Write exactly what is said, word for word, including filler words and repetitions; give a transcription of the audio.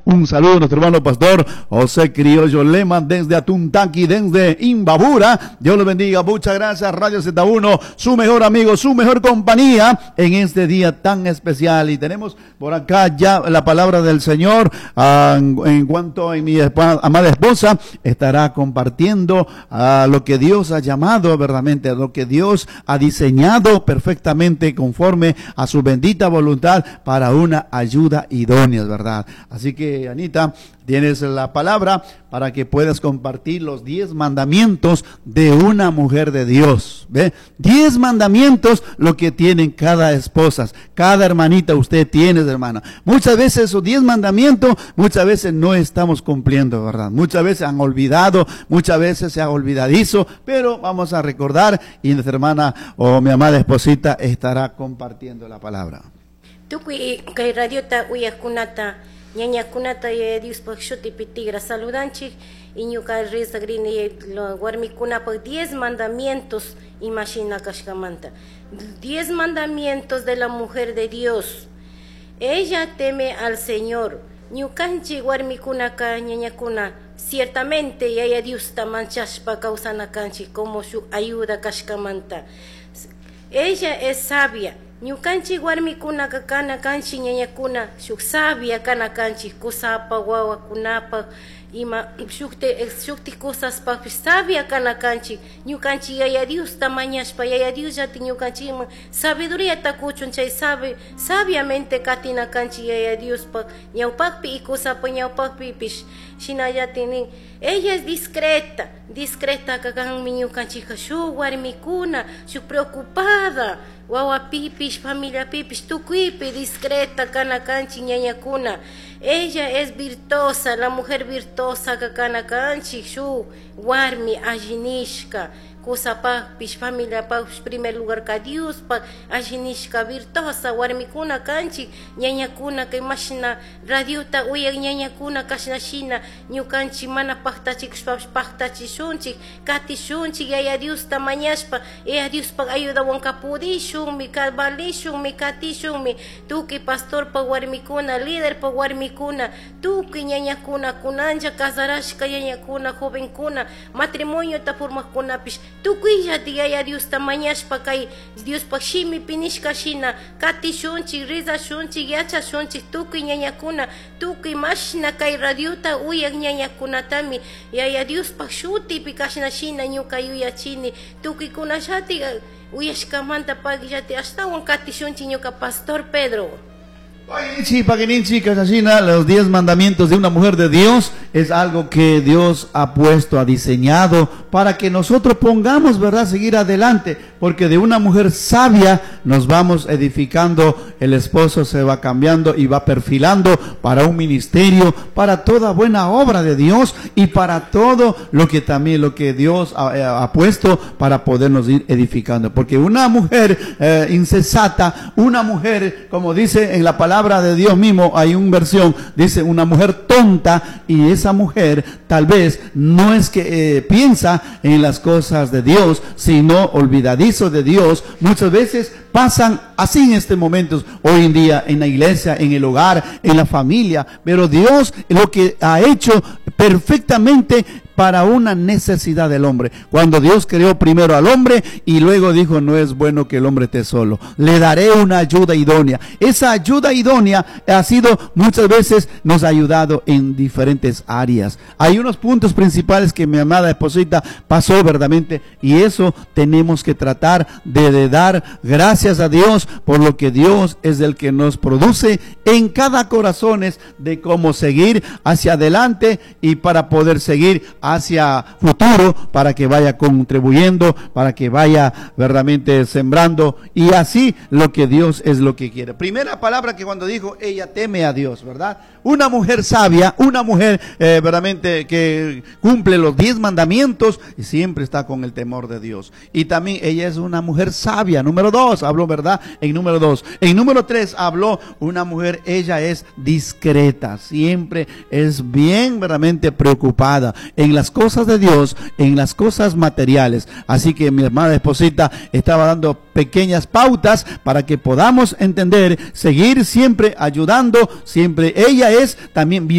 Un saludo a nuestro hermano pastor José Criollo Lema desde Atuntaqui, desde Imbabura. Dios lo bendiga. Muchas gracias, Radio Z uno, su mejor amigo, su mejor compañía en este día tan especial. Y tenemos por acá ya la palabra del Señor. Ah, en cuanto a mi amada esposa, estará compartiendo a lo que Dios ha llamado verdaderamente, a lo que Dios ha diseñado perfectamente conforme a su bendita voluntad para una ayuda idónea, ¿verdad? Así que, Anita, tienes la palabra para que puedas compartir los diez mandamientos de una mujer de Dios. ¿Ve? Diez mandamientos lo que tienen cada esposa, cada hermanita usted tiene, hermana. Muchas veces esos diez mandamientos, muchas veces no estamos cumpliendo, ¿verdad? Muchas veces han olvidado, muchas veces se ha olvidadizo, pero vamos a recordar y nuestra hermana o mi amada esposita estará compartiendo la palabra. Tukuy kay radiota uyajkunata, ñañakunata Yaya Diospaj shutipi tigra saludanchik y ñuka rezagrini warmikunapaj diez mandamientos imashina kashkamanta. Diez mandamientos de la mujer de Dios. Ella teme al Señor. Ñukanchik warmikunaka ñañakuna ciertamente Yaya Diosta manchashpa kawsana kanchik como su ayuda kashkamanta. Ella es sabia. Ñukanchik warmikunaka kana kanchik ñañakuna shuk sabia kana kanchik kusapa wawakunapaj ima shukti, shukti cosaspajpish sabia kana kanchik. Ñukanchik Yaya Diosta mañashpa Yaya Diosllati ñukanchikman sabiduriata kuchun chay sabe, sabiamente katina kanchik Yaya Diospaj ñawpakpi y kusapa ñawpakpipish. Shinallati nin ella es discreta, discreta kanmi ñukanchikka shuk warmikuna shuk preocupada wawapipish familiapipish tukuypi discreta kana kanchik ñañakuna. Ella es virtuosa, la mujer virtuosa kana kanchik shuk warmi allinishka kusapajpish familiapajpish primer lugar ka Diospaj allinishka virtuosa warmikuna kanchik ñañakuna kay mashna radiota uyak ñañakuna kashna shina ñukanchik mana paktachikushpapish paktachishunchik katishunchik Yaya Diosta mañashpa Yaya Diospaj ayudawanka pudishunmi valishunmi katishunmi tukuy pastorpaj warmikuna liderpaj warmikuna tukuy ñañakuna kunanlla casarashka ñañakuna jovenkuna matrimoniota formajkunapish tukuyllati Yaya Diosta mañashpa kay Diospaj shimipi nishka shina katishunchik rizashunchik yachashunchik tukuy ñañakuna tukuy mashna kay radiota uyak ñañakunatami Yaya Diospaj shutipi kashna shina ñuka yuyachini tukuykunallati uyashkamanta pakllati ashtawan katishunchik ñuka pastor Pedro. Paguininchi, Casasina, los diez mandamientos de una mujer de Dios es algo que Dios ha puesto, ha diseñado para que nosotros pongamos, ¿verdad?, seguir adelante, porque de una mujer sabia nos vamos edificando, el esposo se va cambiando y va perfilando para un ministerio, para toda buena obra de Dios y para todo lo que también lo que Dios ha, ha puesto para podernos ir edificando, porque una mujer eh, insensata, una mujer, como dice en la palabra de Dios mismo, hay una versión, dice una mujer tonta, y esa mujer tal vez no es que eh, piensa en las cosas de Dios, sino olvidadizo de Dios. Muchas veces pasan así en estos momentos, hoy en día, en la iglesia, en el hogar, en la familia, pero Dios lo que ha hecho perfectamente para una necesidad del hombre. Cuando Dios creó primero al hombre y luego dijo, no es bueno que el hombre esté solo, le daré una ayuda idónea. Esa ayuda idónea ha sido muchas veces nos ha ayudado en diferentes áreas. Hay unos puntos principales que mi amada esposita pasó verdaderamente, y eso tenemos que tratar de, de dar gracias a Dios por lo que Dios es el que nos produce en cada corazón de cómo seguir hacia adelante y para poder seguir hacia futuro, para que vaya contribuyendo, para que vaya verdaderamente sembrando, y así lo que Dios es lo que quiere. Primera palabra que cuando dijo, ella teme a Dios, ¿verdad? Una mujer sabia, una mujer, eh, verdaderamente que cumple los diez mandamientos y siempre está con el temor de Dios. Y también ella es una mujer sabia. Número dos, habló, ¿verdad? En número dos. En número tres habló una mujer, ella es discreta, siempre es bien verdaderamente preocupada en las cosas de Dios, en las cosas materiales. Así que mi hermana esposita estaba dando pequeñas pautas para que podamos entender, seguir siempre ayudando, siempre. Ella es también virtuosa.